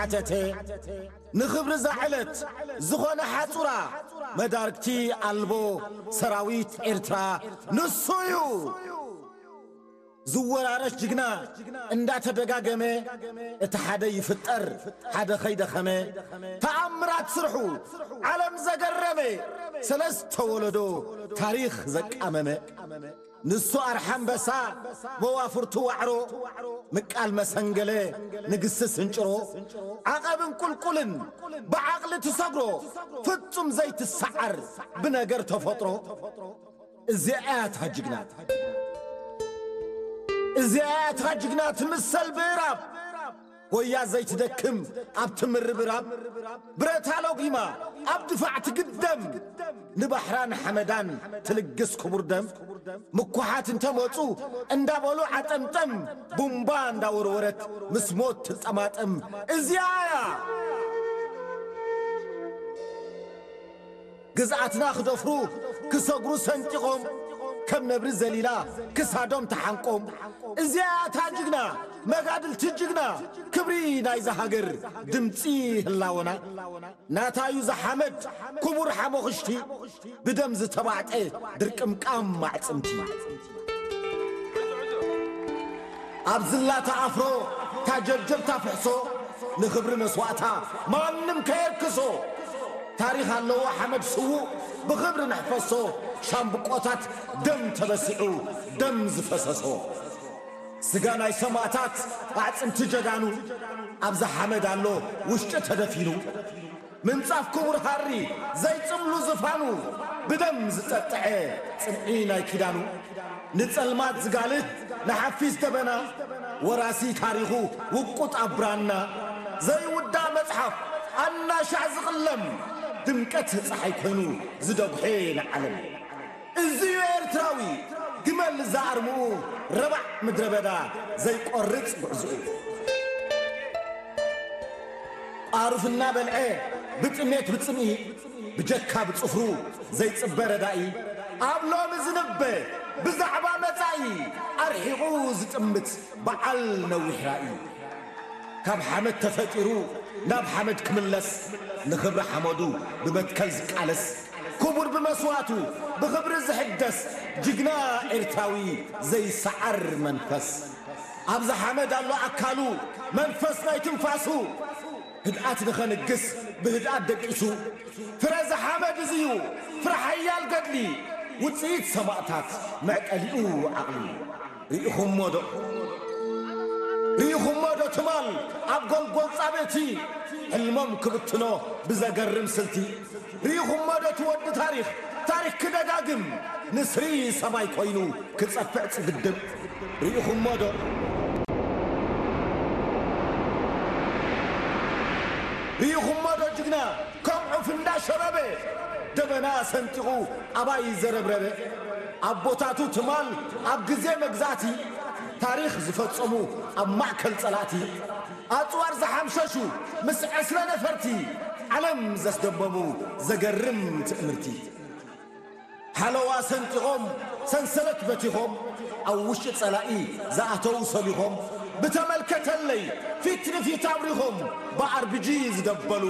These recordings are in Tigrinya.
ሓተተ። ንኽብሪ እዛ ዕለት ዝኾነ ሓጹራ መዳርግቲ ኣልቦ ሰራዊት ኤርትራ ንሱ እዩ። ዝወራረስ ጅግና እንዳተደጋገመ፣ እቲ ሓደ ይፍጠር ሓደ ኸይደኸመ፣ ተኣምራት ስርሑ ዓለም ዘገረመ፣ ሰለስተ ወለዶ ታሪኽ ዘቃመመ። ንሱ ኣርሓ ኣንበሳ፣ መዋፍርቱ ዋዕሮ፣ ምቃል መሰንገለ፣ ንግስቲ ስንጭሮ፣ ዓቐብን ቁልቁልን ብዓቕሊ ትሰግሮ፣ ፍጹም ዘይትሰዓር ብነገር ተፈጥሮ። እዚኣ እያ እታ ጅግና፣ እዚኣ እያ እታ ጅግና ትምሰል ብእራብ፣ ጎያ ዘይትደክም ኣብ ትምርብራብ፣ ብረታ ሎጊማ ኣብ ድፋዕ ትግደም፣ ንባሕራን ሓመዳን ትልግስ ክቡር ደም። ምኩሓት እንተመጹ እንዳበሉ ዓጠምጠም፣ ቡምባ እንዳወርወረት ምስ ሞት ትጠማጠም። እዚኣ እያ ግዝኣትና ክደፍሩ ክሰግሩ ሰንጢቖም፣ ከም ነብሪ ዘሊላ ክሳዶም ተሓንቆም። እዚኣ እታ ጅግና፣ መጋድልቲ ጅግና፣ ክብሪ ናይዛ ሃገር፣ ድምጺ ህላወና። ናታ እዩ ዝሓመድ ክቡር ሓሞኽሽቲ፣ ብደም ዝተባዕጠ ድርቅምቃም ኣዕጽምቲ። ኣብ ዝላታ ኣፍሮ ታጀብጀብታ ፍሕሶ፣ ንኽብሪ መስዋእታ ማንም ከየርክሶ። ታሪኽ ኣለዎ ሓመድ ስዉእ ብኽብሪ ነሕፈሶ፣ ሻምብቆታት ደም ተበሲዑ ደም ዝፈሰሶ። ስጋ ናይ ሰማእታት ኣዕጽምቲ ጀጋኑ፣ ኣብዛ ሓመድ ኣሎ ውሽጢ ተደፊኑ። ምንጻፍ ክቡር ሃሪ ዘይጽምሉ ዝፋኑ፣ ብደም ዝጸጥዐ ጽንዒ ናይ ኪዳኑ። ንጸልማት ዝጋልህ ንሓፊስ ደበና፣ ወራሲ ታሪኹ ውቁጥ ኣብ ብራና። ዘይውዳእ መጽሓፍ ኣናሻዕ ዝቕለም፣ ድምቀት ጸሓይ ኮይኑ ዝደጉሐ ንዓለም። እዚ'ዩ ኤርትራዊ፣ ግመል ዝኣርምኡ ረባዕ ምድረ በዳ ዘይቆርጽ ጉዕዞኡ። ቋሩፍ እናበልዐ ብጥሜት ብጽምኢ፣ ብጀካ ብጽፍሩ ዘይጽበ ረዳኢ፣ ኣብ ሎሚ ዝንበ ብዛዕባ መጻኢ ኣርሒቑ ዝጥምት በዓል ነዊሕ ራኢ። ካብ ሓመድ ተፈጢሩ ናብ ሓመድ ክምለስ፣ ንኽብሪ ሓመዱ ብመትከል ዝቃለስ፣ ክቡር ብመስዋእቱ ብኽብሪ ዝሕደስ፣ ጅግና ኤርትራዊ ዘይሰዓር መንፈስ። ኣብዛ ሓመድ ኣሎ ኣካሉ፣ መንፈስ ናይ ትንፋሱ፣ ህድኣት ንኸንግስ ብህድኣት ደቂሱ። ፍረ እዚ ሓመድ እዚ'ዩ፣ ፍረ ሓያል ገድሊ፣ ውጽኢት ሰማእታት፣ መዕቀሊኡ ዓቕሊ። ርኢኹሞ ዶ? ርኢኹሞ ዶ ትማል ኣብ ጎልጎል ጻብእቲ፣ ሕልሞም ክብትኖ ብዘገርም ስልቲ? ርኢኹሞ ዶ እቲ ወዲ ታሪኽ፣ ታሪኽ ክደጋግም፣ ንስሪ ሰማይ ኮይኑ ክጸፍዕ ጽግድም? ርኢኹሞ ዶ? ርኢኹሞ ዶ ጅግና ከም ዑፍ እንዳሸበበ፣ ደበና ሰንጢቑ ኣባይ ዘረብረበ? ኣቦታቱ ትማል ኣብ ግዜ መግዛእቲ፣ ታሪኽ ዝፈጸሙ ኣብ ማእከል ጸላእቲ፣ ኣጽዋር ዝሓምሸሹ ምስ ዕስለ ነፈርቲ፣ ዓለም ዘስደመሙ ዘገርም ትእምርቲ። ሓለዋ ሰንጢቖም፣ ሰንሰለት በቲኾም፣ ኣብ ውሽጢ ጸላኢ ዝኣተዉ ሰሊኾም፣ ብተመልከተለይ ፊት ንፊት ኣብሪኾም፣ ብኣርቢጂ ዝደበሉ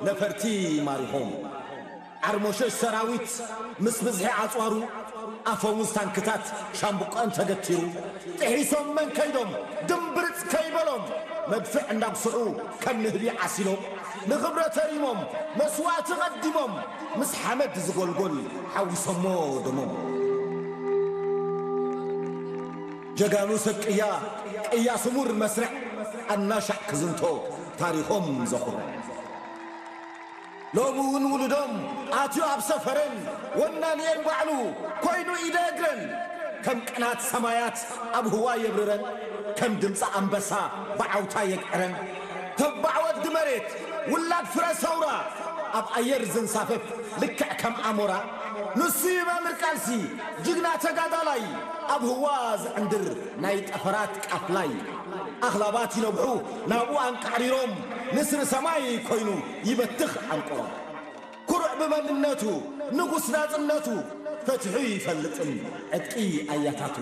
ነፈርቲ ማሪኾም። ዓርሞሸሽ ሰራዊት ምስ ብዝሒ ኣጽዋሩ፣ ኣፈሙዝ ታንክታት ሻምብቆን ተገቲሩ፣ ጥሒሶም መን ከይዶም ድምብርጽ ከይበሎም፣ መድፍዕ እንዳጉስዑ ከም ንህቢ ዓሲሎም፣ ንኽብረ ተሪሞም መስዋእቲ ቐዲሞም፣ ምስ ሓመድ ዝጎልጎል ሓዊሶሞ ደሞም። ጀጋኑ ሰብ ቅያ፣ ቅያ ስሙር መስርዕ፣ ኣናሻዕ ክዝንቶ ታሪኾም ዘኹርዕ። ሎሚ እውን ውሉዶም ኣትዩ ኣብ ሰፈረን፣ ወናኒኤን ባዕሉ ኮይኑ ኢደ እግረን። ከም ቅናት ሰማያት ኣብ ህዋ የብርረን፣ ከም ድምፂ ኣንበሳ ብዓውታ የግዕረን። ተባዕ ወዲ መሬት፣ ውላድ ፍረ ሰውራ፣ ኣብ ኣየር ዝንሳፈፍ ልክዕ ከም ኣሞራ። ንሱ እዩ መምህር ቃልሲ፣ ጅግና ተጋዳላይ፣ ኣብ ህዋ ዝዕንድር ናይ ጠፈራት ቃፍላይ። ኣኽላባት ይነብሑ ናብኡ ኣንቃዕሪሮም፣ ንስሪ ሰማይ ኮይኑ ይበትኽ ኣንቆሮም። ኩሩዕ ብመንነቱ ንጉስ ናጽነቱ፣ ፈቲሑ ይፈልጥን ዕጥቂ ኣያታቱ።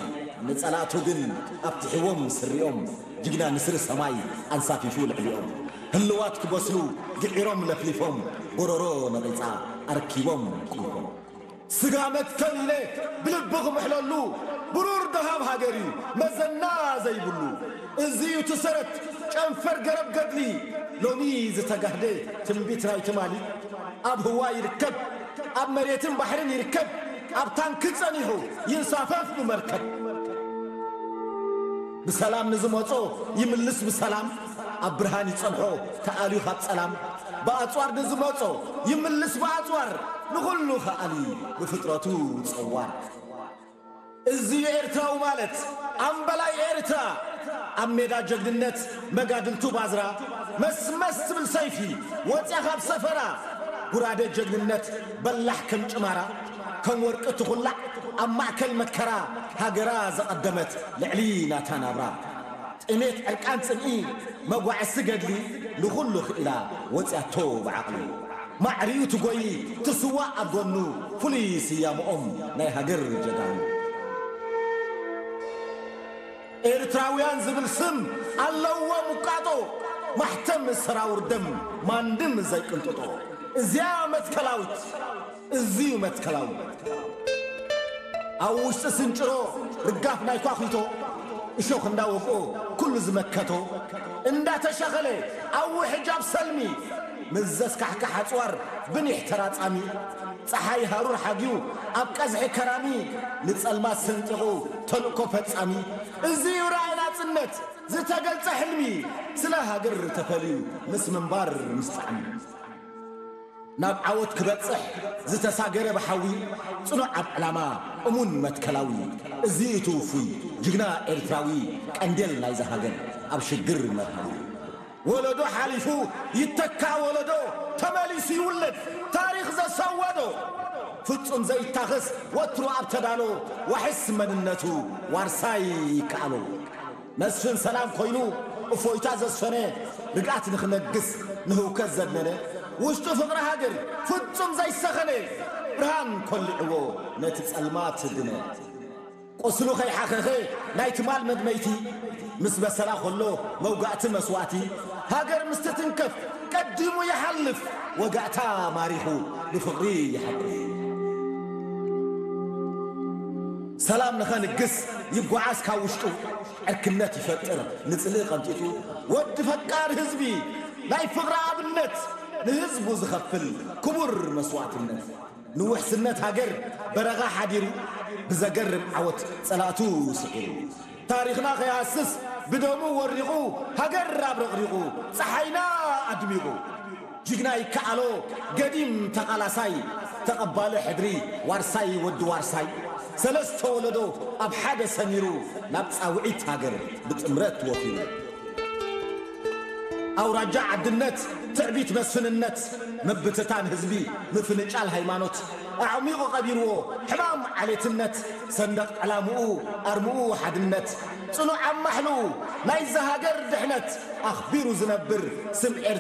ንጸላእቱ ግን ኣብቲሕዎም ስሪኦም፣ ጅግና ንስሪ ሰማይ ኣንሳፊፉ ልዕሊኦም። ህልዋት ክበስሉ ግዒሮም ለፍሊፎም፣ ጎረሮ ነቒጻ ኣርኪቦም ቁልፎም። ስጋ መትከል ኢለ ብልቢ ክምሕለሉ፣ ብሩር ደሃብ ሃገር እዩ መዘና ዘይብሉ። እዚ እዩ እቲ ሰረት ጨንፈር ገረብ ገድሊ፣ ሎሚ ዝተጋህደ ትንቢት ናይ ትማሊ። ኣብ ህዋ ይርከብ፣ ኣብ መሬትን ባሕርን ይርከብ፣ ኣብ ታንኪ ጸኒሑ ይንሳፈፍ ብመርከብ። ብሰላም ንዝመጾ ይምልስ ብሰላም፣ ኣብ ብርሃን ይጸንሖ ተኣልዩ ካብ ጸላም። ብኣጽዋር ንዝመጾ ይምልስ ብኣጽዋር፣ ንኹሉ ከኣሊ ብፍጥረቱ ጸዋር። እዚ ኤርትራዊ ማለት ኣምበላይ ኤርትራ፣ ኣብ ሜዳ ጀግንነት መጋድልቱ ባዝራ፣ መስመስ ትብል ሰይፊ ወጽያ ካብ ሰፈራ፣ ጉራደ ጀግንነት በላሕ ከም ጭማራ፣ ከም ወርቂ ትኹላዕ ኣብ ማእከል መከራ፣ ሃገራ ዘቐደመት ልዕሊ ናታ ናብራ። ጥሜት ዕርቃን ጽምኢ መጓዕሲ ገድሊ፣ ንኹሉ ክኢላ ወጽያቶ ብዓቕሊ። ማዕሪኡ ትጎይ ትስዋእ ኣብ ጎኑ፣ ፍሉይ ስያመኦም ናይ ሃገር ጀጋኑ። ኤርትራውያን ዝብል ስም ኣለዎም ውቃጦ፣ ማሕተም ሰራውር ደም ማንድም ዘይቅንጥጦ። እዚያ መትከላዊት፣ እዚዩ መትከላዊ። ኣብ ውሽጢ ስንጭሮ ርጋፍ ናይ ኳኺቶ፣ እሾኽ እንዳወቅኦ ኩሉ ዝመከቶ፣ እንዳተሻኸለ ኣብ ውሕጅ ኣብ ሰልሚ፣ ምስ ዘስካሕክሕ ኣጽዋር ብኒሕ ተራጻሚ፣ ጸሓይ ሃሩር ሓግዩ ኣብ ቀዝሒ ከራሚ፣ ንጸልማት ሰንጢቑ ተልእኮ ፈጻሚ። እዚ እዩ ራእይ ናጽነት ዝተገልጸ ሕልሚ፣ ስለ ሃገር ተፈልዩ ምስ ምንባር ምስ ጣዕሚ። ናብ ዓወት ክበጽሕ ዝተሳገረ ብሓዊ፣ ጽኑዕ ኣብ ዕላማ እሙን መትከላዊ። እዚ እቲ ውፉይ ጅግና ኤርትራዊ፣ ቀንዴል ናይዛ ሃገር ኣብ ሽግር መርሃዊ። ወለዶ ሓሊፉ ይተካ ወለዶ፣ ተመሊሱ ይውለድ ታሪኽ ዘሰወዶ። ፍጹም ዘይታኸስ ወትሩ ኣብ ተዳሎ፣ ዋሕስ መንነቱ ዋርሳይ ይከኣሎ። መስፍን ሰላም ኮይኑ እፎይታ ዘስፈነ፣ ርግኣት ንኽነግስ ንህውከት ዘድነነ፣ ውሽጡ ፍቕሪ ሃገር ፍጹም ዘይሰኸነ፣ ብርሃን ኮሊዕዎ ነቲ ጸልማት ድነ። ቁስሉ ከይሓኸኸ ናይ ትማል መድመይቲ፣ ምስ በሰላ ከሎ መውጋእቲ መስዋእቲ፣ ሃገር ምስ ትትንከፍ ቀዲሙ ይሓልፍ፣ ወጋእታ ማሪኹ ብፍቕሪ ይሓቁፍ። ሰላም ንኸንግስ ይጓዓዝ ካብ ውሽጡ፣ ዕርክነት ይፈጥር ንጽልኢ ቀንጢጡ። ወዲ ፈቃር ህዝቢ ናይ ፍቕሪ ኣብነት፣ ንህዝቡ ዝኸፍል ክቡር መስዋእትነት። ንውሕስነት ሃገር በረኻ ሓዲሩ፣ ብዘገርም ዓወት ጸላእቱ ስዒሩ። ታሪኽና ከይሃስስ ብደሙ ወሪቑ፣ ሃገር ኣብረቕሪቑ ጸሓይና ኣድሚቑ። ጅግና ይከኣሎ ገዲም ተቓላሳይ፣ ተቐባሊ ሕድሪ ዋርሳይ ወዲ ዋርሳይ፣ ሰለስተ ወለዶ ኣብ ሓደ ሰሚሩ፣ ናብ ጻውዒት ሃገር ብጥምረት ወፊሩ። ኣውራጃ ዓድነት፣ ትዕቢት መስፍንነት፣ ምብትታን ህዝቢ፣ ምፍንጫል ሃይማኖት፣ ኣዕሚቑ ቀቢርዎ ሕማም ዓሌትነት። ሰንደቕ ዕላምኡ ኣርምኡ ሓድነት፣ ጽኑዕ ኣብ ማሕልኡ ናይዛ ሃገር ድሕነት፣ ኣኽቢሩ ዝነብር ስም